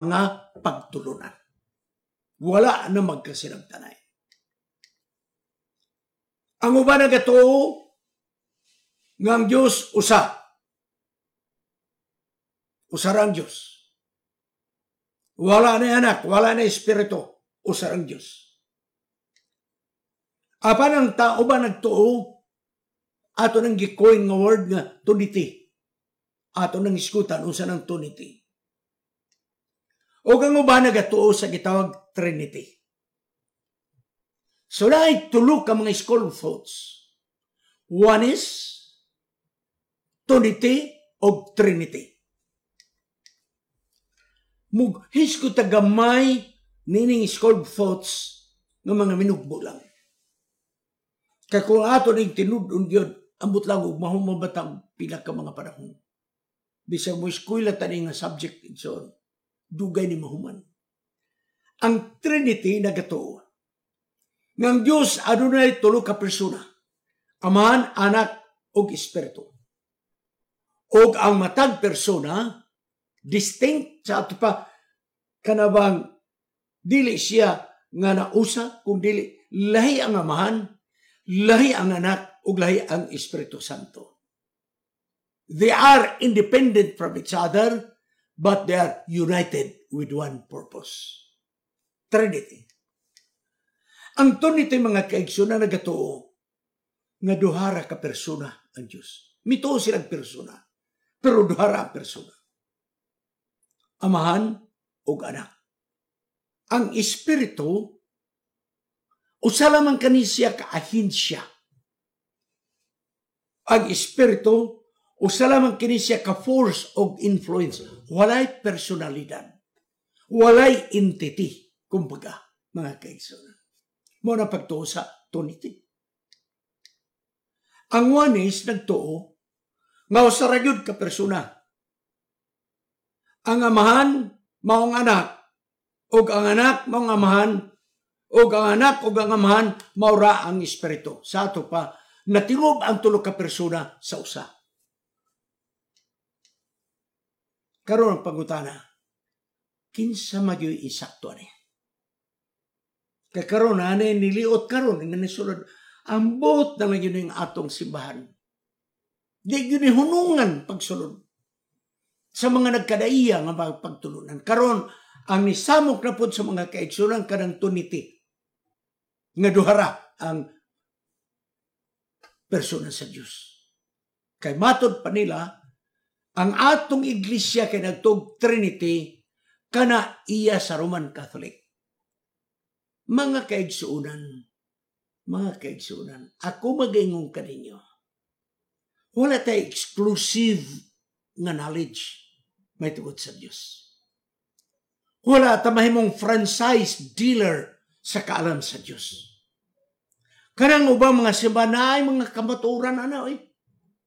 Mga pagtulunan. Wala na magkasinabtanay. Ang uban nagatuo nga ang Diyos usa. Usa ra ang Diyos. Wala na anak, wala na espiritu, usa ang Diyos. Apan ang tao ba nagtuo, ato nang gi-coin nga word nga Trinity. Ato nang iskutan unsa nang Trinity. O ang uban nagatuo sa gitawag Trinity. So naay tulo ka mga school of thoughts. One is Trinity o Trinity. Mughisgot ta gamay nining school of thoughts nga mga minugbo lang. Kay kung ato ning tinud-on gyud, ambot lang og mahumabatang pila ka mga panahon. Bisag mo eskwela tani nga subject, igsoon, dugay ni mahuman. Ang Trinity nagatuo nga ang Dios adunay tulo ka persona: Amahan, Anak ug Espiritu. Og ang matag persona distinct sa ato pa, kanabang dili siya nga nausa kung dili lahi ang Amahan, lahi ang Anak ug lahi ang Espiritu Santo. They are independent from each other, but they are united with one purpose. Trinity. Ang Trinity, mga kaigsoon, na nagatuo nga duhara ka persona ang Diyos. Mituo silang persona, pero duhara ang persona. Amahan ug Anak. Ang Espiritu usa lamang kani siya ka ahensya. Ang Espiritu usa lamang kini siya ka force og influence. Walay personalidad. Walay entity, kumbaga, mga kaigsoon. Mao na pagtuo sa Trinity. Ang Oneness nagtuo nga usa ra gyud ka persona. Ang Amahan mao ang Anak, ug ang Anak mao ang Amahan, ug ang Anak ug ang Amahan mao ra ang Espiritu. Sa ato pa, natingob ang tulo ka persona sa usa. Karon ang pangutana, kinsa magyoy insakto ani? Kay karon ani niliot karon nga nisulod, ambot na lang yun yung atong simbahan. Di yun hunungan pagsulod sa mga nagkadaiya nga pagtulunan. Karon ang nisamok na pod sa mga kaigsunan kanang Trinity nga duhara ang persona sa Dios. Kay matod pa nila, ang atong iglesia kay nagtuog Trinity kana iya sa Roman Catholic. Mga kaigsuonan, ako magaingon kaninyo. Wala tay exclusive nga knowledge may tungod sa Dios. Wala ta mahimong franchise dealer sa kaalam sa Dios. Kanang ubang mga simbahan na ay mga kamaturan ana oy.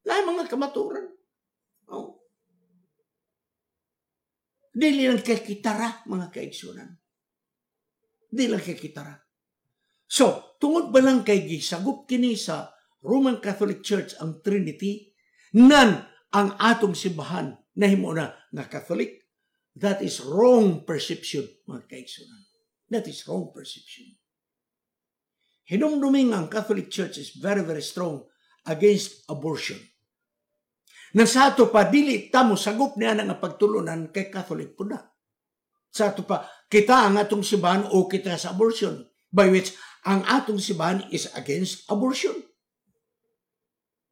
Naay mga kamaturan. Oh. Dili lang kay kitara, mga kaigsunan. Dili lang kay kitara. So, tungod ba lang kay gisagop kini sa Roman Catholic Church ang Trinity, nan ang atong simbahan nahimo na nga Catholic? That is wrong perception, mga kaigsunan. That is wrong perception. Hinumduming ang Catholic Church is very, very strong against abortion. Na sa ato pa, dili ta mo sagop niya nga pagtulunan kay Catholic po na. Sa ato pa, kita ang atong simbahan o kita sa abortion. By which, ang atong simbahan is against abortion.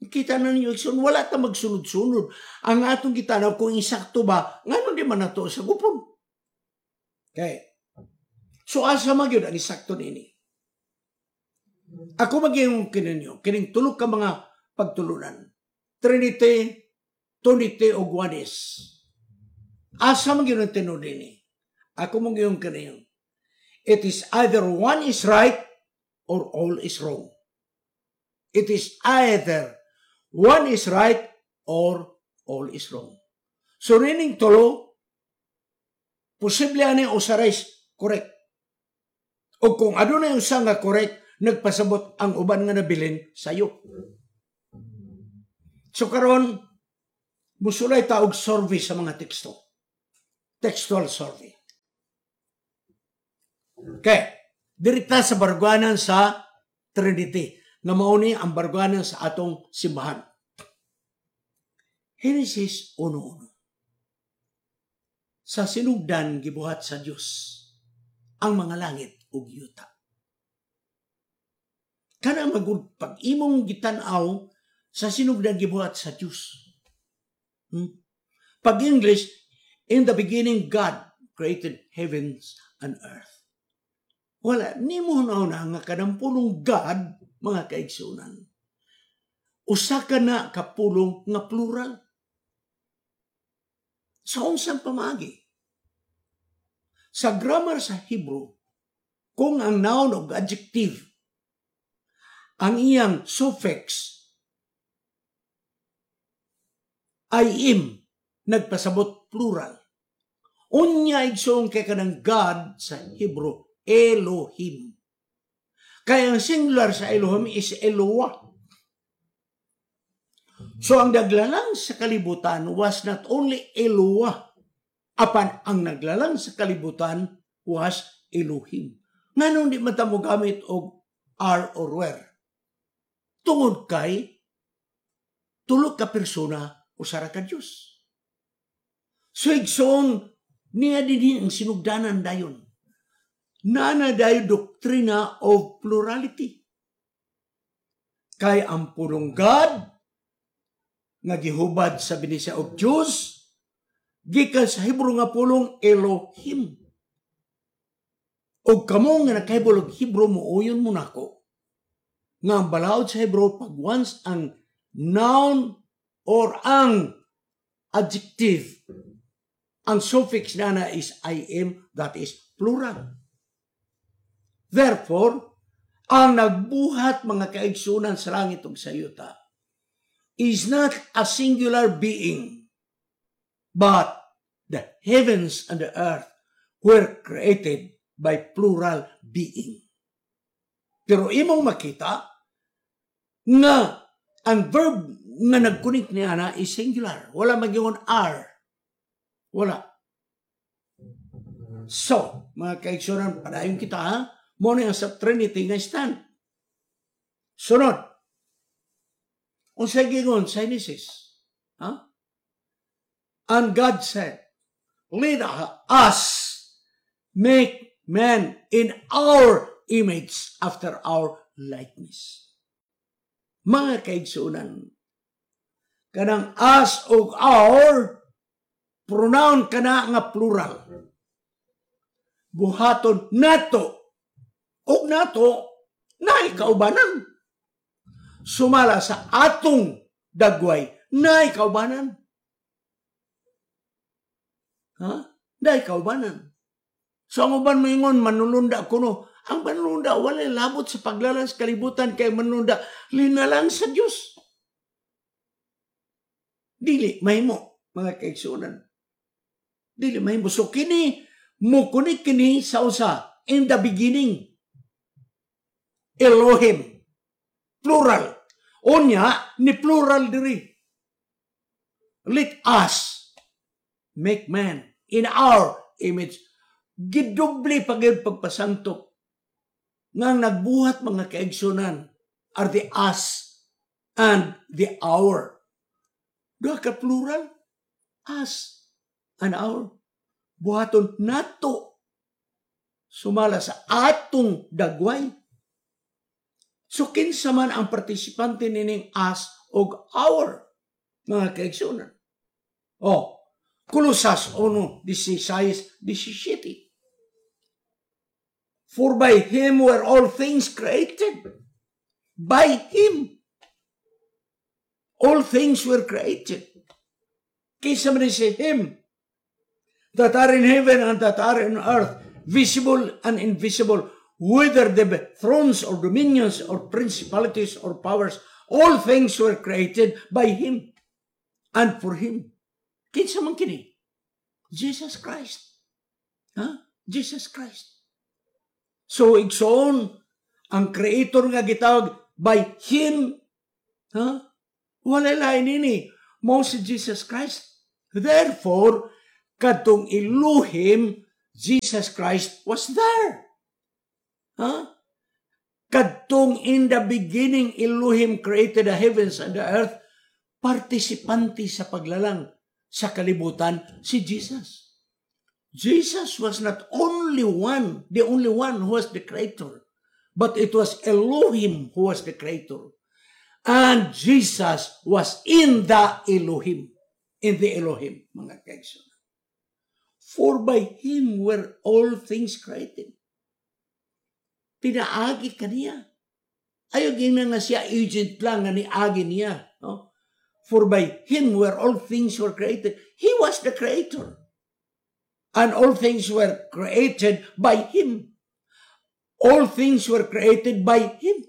Kita na ninyo, igsoon, wala ta magsunod-sunod. Ang atong gitanaw kung insakto ba, ngano di man nato sa gupon. Okay. So asa man gyud ang insakto nini? Ako maging kininyo, kining tulo ka mga pagtulunan. Trinity, Trinity o Oneness. Asa man gyud ang tinuod nini? Ako mong kaninyo. It is either one is right or all is wrong. It is either one is right or all is wrong. So rining tulo, posible ani usa is correct. O kung adunay usa nga correct, nagpasabot ang uban nga nabilin sayo. So karon musulay ta og survey sa mga teksto. Textual survey. Okay, direkta sa barguanan sa Trinity, nga mao ni ang barguanan sa atong simbahan. Genesis 1:1. Sa sinugdan gibuhat sa Dios ang mga langit ug yuta. Kana magud pag imong gitan-aw, sa sinugdan gibuhat sa Dios. Pag English, "In the beginning God created heavens and earth." Wala nimo na nga kanang pulong God, mga kaigsunan, usa ka na kapulong nga plural. Sa unsang pamaagi? Sa grammar sa Hebrew, kung ang noun o adjective, ang iyang suffix ay im, nagpasabot plural. Unya, igsoon, kay kanang God sa Hebrew, Elohim. Kaya ang singular sa Elohim is Eloah. So ang naglalang sa kalibutan was not only Eloah, apan ang naglalang sa kalibutan was Elohim. Nganong di man ta mo gamit og are or were? Tungod kay tulo ka persona, usa ra ka Dios. So igsoon, niya dinhi ang sinugdanan dayon. Nana dayon doktrina of plurality. Kay ang pulong God nga gihubad sa binisaya og Diyos gikan sa Hebrew nga pulong Elohim. Og kamo nga nakahibalo og Hebrew, muuyon mo nako nga ang balaod sa Hebrew, pag once ang noun or ang adjective, ang suffix na is I am, that is plural. Therefore, ang nagbuhat, mga kaigsunan, sa langit ug sa yuta is not a singular being, but the heavens and the earth were created by plural being. Pero imong makita nga ang verb nga nagkunik niya na is singular. Wala magyungon are. Wala. So, mga kaigsunan, padayon kita ha. Mo ni ang sa Trinity nga stand. Sunod. Unsay gingon sa Genesis? Ha? "And God said, 'Let us make man in our image after our likeness.'" Mga kaigsunan, kanang us og our, pronoun kana nga plural. Buhaton nato og nato naay kaubanan. Sumala sa atong dagway, naay kaubanan. Ha? Naay kaubanan. So ang uban moingon manulunda kuno. Ang manulunda wala labot sa paglalang sa kalibutan kay manulunda linalang sa Dios. Dili mahimo, mga kaigsuonan. Dili mahimo. So kini mukunik kini sa usa, in the beginning. Elohim. Plural. Unya ni plural diri. "Let us make man in our image." Gidoble pa gyud pagpasangtop nga ang nagbuhat, mga kaigsunan, are the us and the our. Duha ka plural. Us and our. Buhaton nato sumala sa atong dagway. So kinsa man ang partisipante nining us og our, mga kaigsunan? Oh, Colosas 1:16-17. "For by Him were all things created." By Him. All things were created. Kinsa man si Him? "That are in heaven and that are in earth, visible and invisible, whether they be thrones or dominions or principalities or powers, all things were created by Him and for Him." Kinsa man kini? Jesus Christ. Ha? Jesus Christ. So, igsoon, ang creator nga gitawag by Him, ha? Wala lain ini. Mao si Jesus Christ. Therefore, kadtong Elohim, Jesus Christ was there. Ha? Kadtong "In the beginning Elohim created the heavens and the earth," partisipante sa paglalang sa kalibutan si Jesus. Jesus was not only one, the only one who was the creator, but it was Elohim who was the creator. And Jesus was in the Elohim. In the Elohim, mga kaigsoon. For by Him were all things created. Pinaagi kaniya. Ayaw gina nga siya agent lang nga niagi niya. No? For by Him were all things were created. He was the creator. And all things were created by Him. All things were created by Him.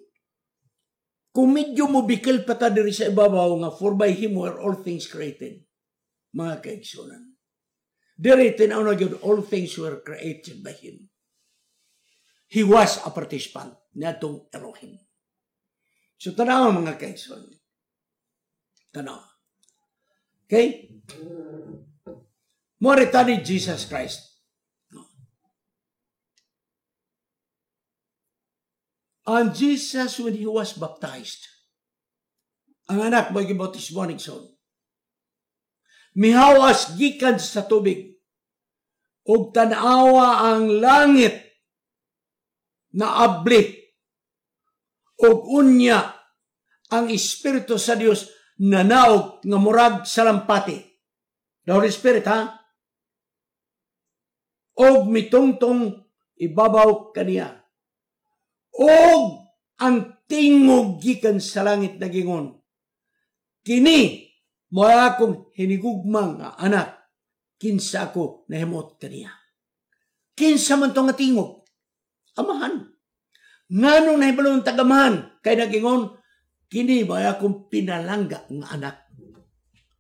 Kung medyo mo bikil pa ta diri sa ibabaw nga "For by Him were all things created," mga kaigsunan. Diri tinaw na gyud, all things were created by Him. He was a participant niadtong Elohim. So tanawa, mga kaigsoon. Tanawa. Okay? Mao ni Jesus Christ. No. And Jesus, when He was baptized, ang anak mo gibautismo ni Igsoon, mihawas gikan sa tubig, ug tan-awa ang langit na abli, ug unya ang Espiritu sa Dios nanaog nga murag salampati. The Holy Spirit, ha? Og mitungtong ibabaw kaniya. Og ang tingog gikan sa langit nagingon, "Kini mo akong hinigugmang nga anak, kinsa ako nahimot kaniya." Kinsa man to nga tingog? Amahan. Nganong nahibalo ang tagamahan? Kay nagingon, "Kini mo akong pinalangga nga anak."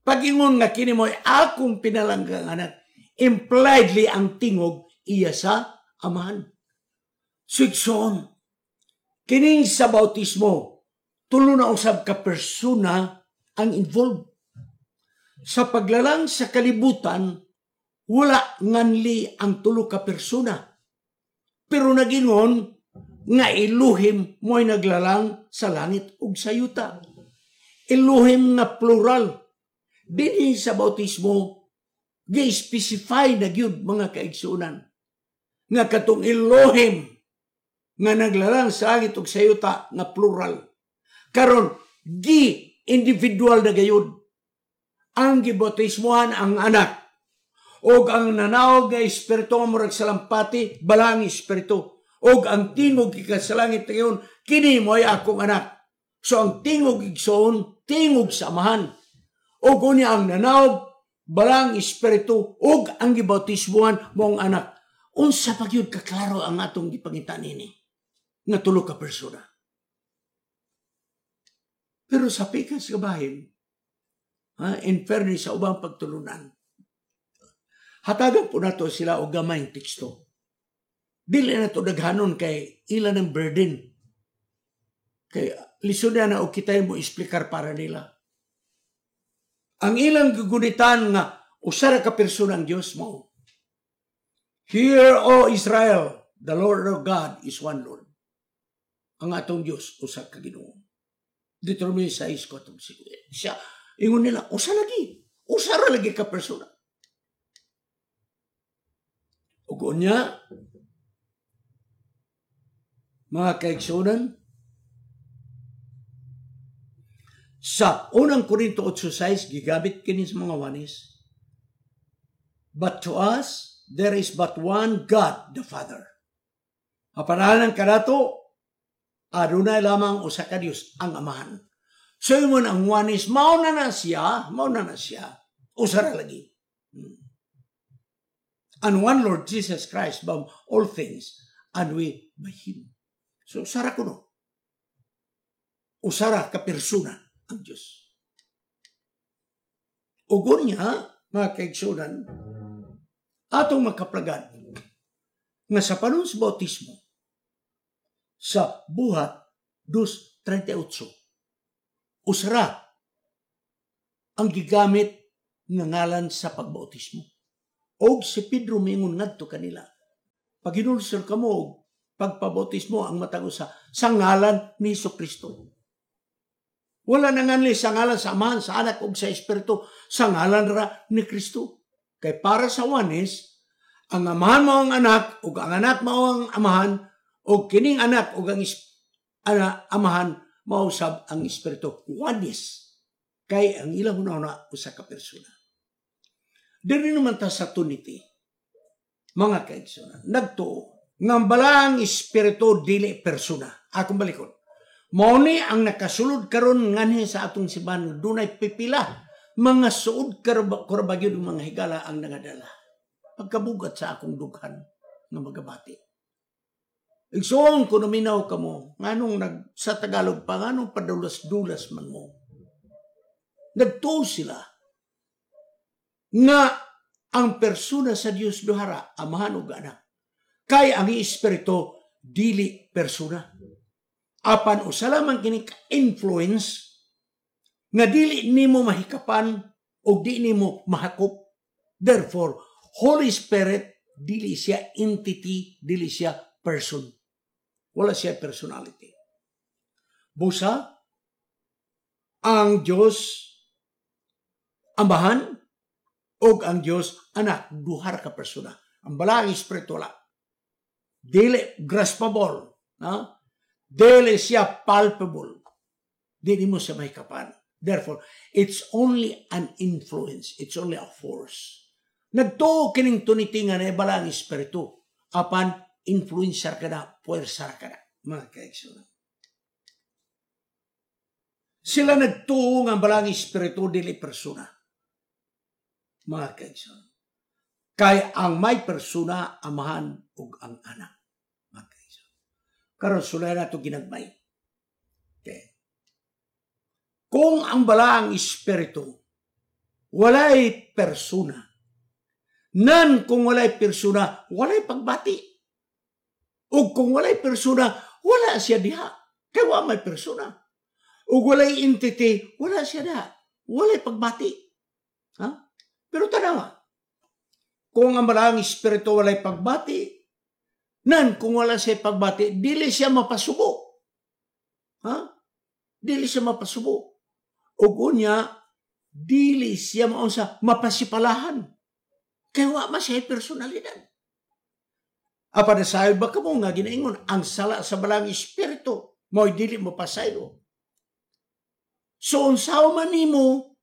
Pagingon nga "Kini mo akong pinalangga nga anak," impliedly ang tingog iya sa Amahan. So igsoon, kining sa bautismo, tulo na usab ka persona ang involved. Sa paglalang sa kalibutan, wala nganli ang tulo ka persona. Pero nagingon nga Elohim mo'y naglalang sa langit ug sa yuta. Elohim nga plural. Dinhi sa bautismo, gi-specify na gyud, mga kaigsunan, nga katong Elohim nga naglalang sa langit ug sa yuta nga plural. Karon gi individual na gayud ang gibautismohan, ang anak og ang nanaog nga espiritu nga murag salampati, balang espiritu, og ang tingog gikan sa langit ngayon, "Kini mo ay akong anak." So ang tingog, igsoon, tingog sa Amahan, og unya ang nanaog balang espiritu ug ang gibautismohan mo ang anak. Unsa pa gyud kaklaro ang atong gipangita nini nga tulo ka persona? Pero sa pikas nga bahin, ha, in fairness sa ubang pagtulunan, hatagan po nato sila og gamayng teksto. Dili na to daghanon kay ila ng burden. Kay lisod na og kita mo explicar para nila. Ang ilang gugunitan nga usa ra ka persona ang Dios mo. "Hear, O Israel, the Lord our God is one Lord." Ang atong Dios usa ka Ginoo. Deuteronomy 6 ko atong siya. Ingon nila, usa lagi. Usa ra lagi ka persona. Ug unya, mga kaigsunan, sa Unang Korinto 8.6, gigamit kini sa mga Oneness. "But to us, there is but one God, the Father." Apanalan kanato, adunay lamang usa ka Dios, ang Amahan. So ingon ang Oneness, mao na na siya, mao na na siya. Usa ra lagi. "And one Lord Jesus Christ, by all things, and we by Him." So usara kuno. Usara ka persona ang Diyos. Ug unya, mga kaigsunan, atong makaplagan nga sa panahon sa bautismo, sa Buhat 2.38, usara ang gigamit nga ngalan sa pagbautismo. Og si Pedro mingon ngadto kanila, "Paghinulsol kamo og Pagpabautismo ang matag usa sa ngalan ni Hesus Kristo. Wala na nganli sa ngalan sa Amahan, sa Anak ug sa Espiritu, sa ngalan ra ni Kristo. Kay para sa Oneness, ang Amahan mao ang Anak ug ang Anak mao ang Amahan ug kining Anak ug ang Amahan mao sab ang Espiritu. Oneness. Kay ang ilang hunahuna usa ka persona. Diri naman ta sa Trinity. Mga kaigsunan, nagtuo nga ang Balaang Espiritu dili persona. Akong balikon. Mao ni ang nakasulod karon nganhi sa atong simbahan, dunay pipila mga suod karaba gyud mga higala ang nangadala. Pagkabugat sa akong dughan nga magabati. Igsoon ko naminaw kamo, nganong nag, sa Tagalog pa, nganong padulas-dulas man mo. Nagtuo sila nga ang persona sa Dios duhara, Amahan ug Anak. Kay ang Espiritu dili persona. Apan usa lamang kini ka-influence nga dili nimo mahikapan o di nimo mahakop. Therefore, Holy Spirit dili siya entity, dili siya person. Wala siya personality. Busa, ang Diyos Amahan o ang Diyos Anak, duha ka persona. Ang Balaang Espiritu wala. Dili graspable. Ha? Dili siya palpable. Dili mo siya mahikapan. Therefore, it's only an influence. It's only a force. Nagtuo kining Trinity nga na Balaang Espiritu. Apan, influencer ka na, puwersa ka na. Mga kaigsunan. Sila nagtuo nga ang Balaang Espiritu dili persona. Mga kaigsunan. Kay ang may persona, Amahan ug ang Anak. Mga kaigsunan. Karon sulay na ito ginagmay. Okay. Kung ang Balaang Espiritu walay persona, nan kung walay persona, walay pagbati. O kung walay persona, wala siya diha. Kay wa may persona. O walay entity, wala siya diha. Walay pagbati. Ha? Pero tanawa, kung ang Balaang Espiritu walay pagbati, nan kung wala siya pagbati, dili siya mapasubo. Ha? Dili siya mapasubo. O unya, dili siya maunsa mapasipalahan. Kay wa man siya personalidad. Apa na sayo ba kamo nga ginaingon ang sala sa Balaang Espiritu mo'y dili mapasaylo. So unsaon man nimo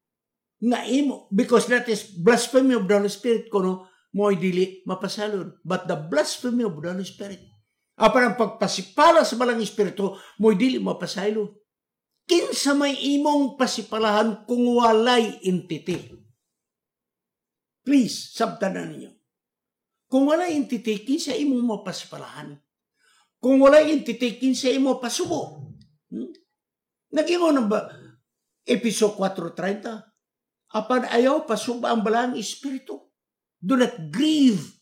nga imo, because that is blasphemy of the Holy Spirit kuno mo'y dili mapasaylon. But the blasphemy of the Holy Spirit, apan ang pagpasipala sa Balaang Espiritu mo'y dili mapasaylo. Kinsa may imong pasipalahan kung walay entity? Please, sabtan na ninyo. Kung walay entity, kinsa imong mapasipalahan? Kung walay entity, kinsa imo pasubo? Nag-ingon ba Episo 4:30? Apan ayaw pasuba ang Balaang Espiritu. Do not grieve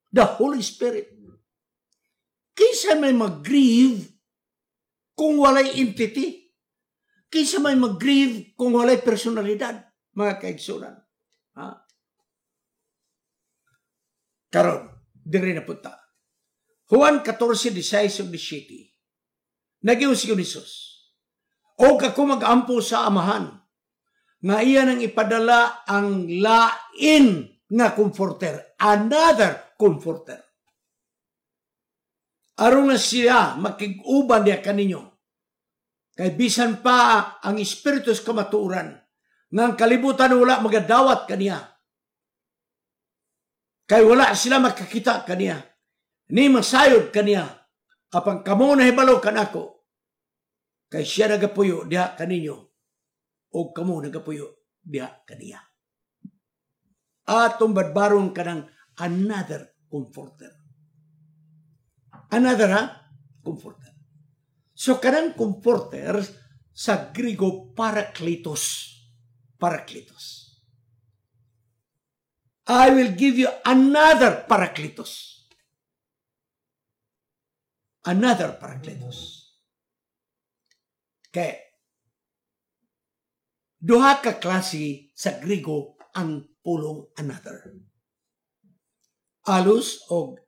the Holy Spirit. Kinsa may mag-grieve kung walay entity? Kinsa may mag-grieve kung walay personalidad? Mga kaigsunan. Ha? Karon, diri na punta. Juan 14:16 ug 17. Nag-ingon si Jesus, "Og ako mag-ampo sa Amahan, nga iya nang ipadala ang lain nga comforter," another comforter. "Aron nga siya makig-uban diha kaninyo. Kay bisan pa ang Espiritu sa kamatuoran, nga ang kalibutan wala magadawat kaniya. Kay wala sila makakita kaniya, ni masayod kaniya, apan kamo nahibalo kanako, kay siya nagapuyo diha kaninyo, o kamo nagapuyo diha kaniya." Atong badbaron kanang another comforter. Another ha? Comforter. So kanang comforter sa Griego parakletos. Parakletos. I will give you another parakletos. Another parakletos. Kay duha ka klase sa Griego ang pulong another. Allos og